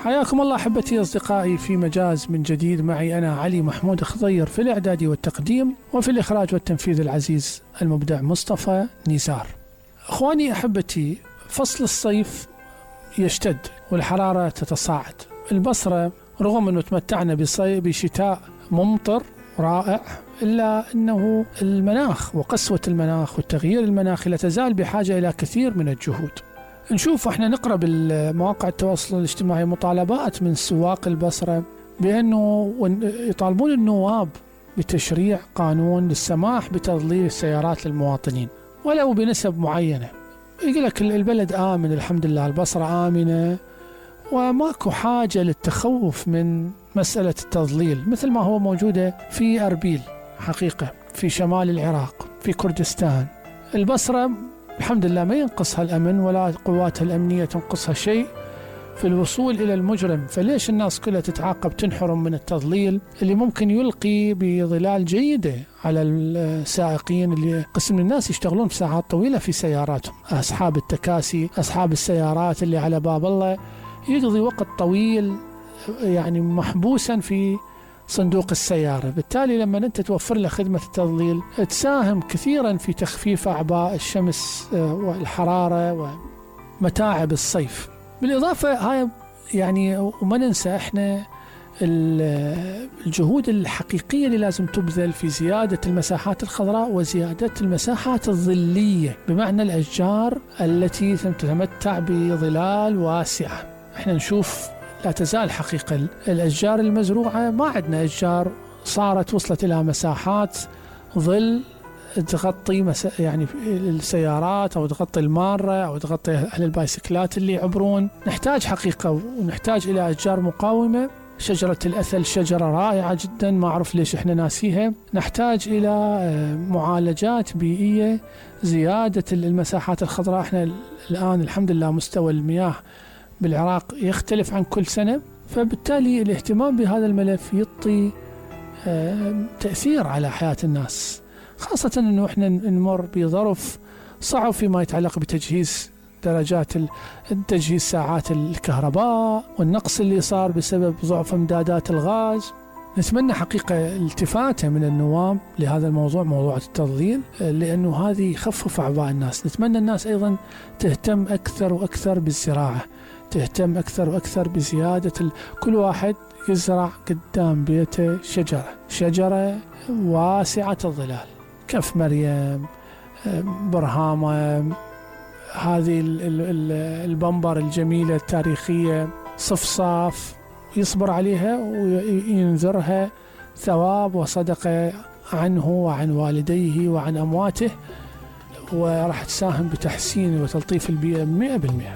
حياكم الله أحبتي أصدقائي في مجاز من جديد. معي أنا علي محمود خضير في الإعداد والتقديم، وفي الإخراج والتنفيذ العزيز المبدع مصطفى نزار. أخواني أحبتي، فصل الصيف يشتد والحرارة تتصاعد. البصرة رغم أنه تمتعنا بشتاء ممطر رائع، إلا أنه المناخ وقسوة المناخ والتغيير المناخي لا تزال بحاجة إلى كثير من الجهود. نشوف احنا نقرأ بالمواقع التواصل الاجتماعي مطالبات من سواق البصرة بأنه يطالبون النواب بتشريع قانون للسماح بتضليل السيارات للمواطنين ولو بنسب معينة. يقول لك البلد آمن، الحمد لله البصرة آمنة وماكو حاجة للتخوف من مسألة التضليل، مثل ما هو موجودة في أربيل حقيقة، في شمال العراق، في كردستان. البصرة الحمد لله ما ينقصها الأمن ولا قواتها الأمنية تنقصها شيء في الوصول إلى المجرم. فليش الناس كلها تتعاقب تنحرم من التضليل اللي ممكن يلقي بظلال جيدة على السائقين، اللي قسم من الناس يشتغلون بساعات طويلة في سياراتهم، أصحاب التكاسي، أصحاب السيارات اللي على باب الله يقضي وقت طويل يعني محبوسا في صندوق السيارة. بالتالي لما أنت توفر له خدمة التضليل تساهم كثيرا في تخفيف أعباء الشمس والحرارة ومتاعب الصيف. بالإضافة هاي يعني وما ننسى إحنا الجهود الحقيقية اللي لازم تبذل في زيادة المساحات الخضراء وزيادة المساحات الظلية، بمعنى الأشجار التي تتمتع بظلال واسعة. إحنا نشوف لا تزال حقيقة الأشجار المزروعة، ما عندنا أشجار صارت وصلت إلى مساحات ظل تغطي يعني السيارات أو تغطي المارة أو تغطي أهل البايسكلات اللي يعبرون. نحتاج حقيقة ونحتاج إلى أشجار مقاومة. شجرة الأثل شجرة رائعة جدا، ما أعرف ليش إحنا ناسيها. نحتاج إلى معالجات بيئية، زيادة المساحات الخضراء. إحنا الآن الحمد لله مستوى المياه بالعراق يختلف عن كل سنة، فبالتالي الاهتمام بهذا الملف يعطي تأثير على حياة الناس، خاصة أنه إحنا نمر بظرف صعب فيما يتعلق بتجهيز درجات تجهيز ساعات الكهرباء والنقص اللي صار بسبب ضعف امدادات الغاز. نتمنى حقيقة التفاتة من النواب لهذا الموضوع، موضوع التضليل، لأنه هذه يخفف أعباء الناس. نتمنى الناس أيضا تهتم أكثر وأكثر بالزراعة، تهتم أكثر وأكثر بزيادة كل واحد يزرع قدام بيته شجرة واسعة الظلال، كف مريم، برهامة، هذه البنبر الجميلة التاريخية، صفصاف، يصبر عليها وينذرها ثواب وصدقة عنه وعن والديه وعن أمواته، وراح تساهم بتحسين وتلطيف البيئة 100%.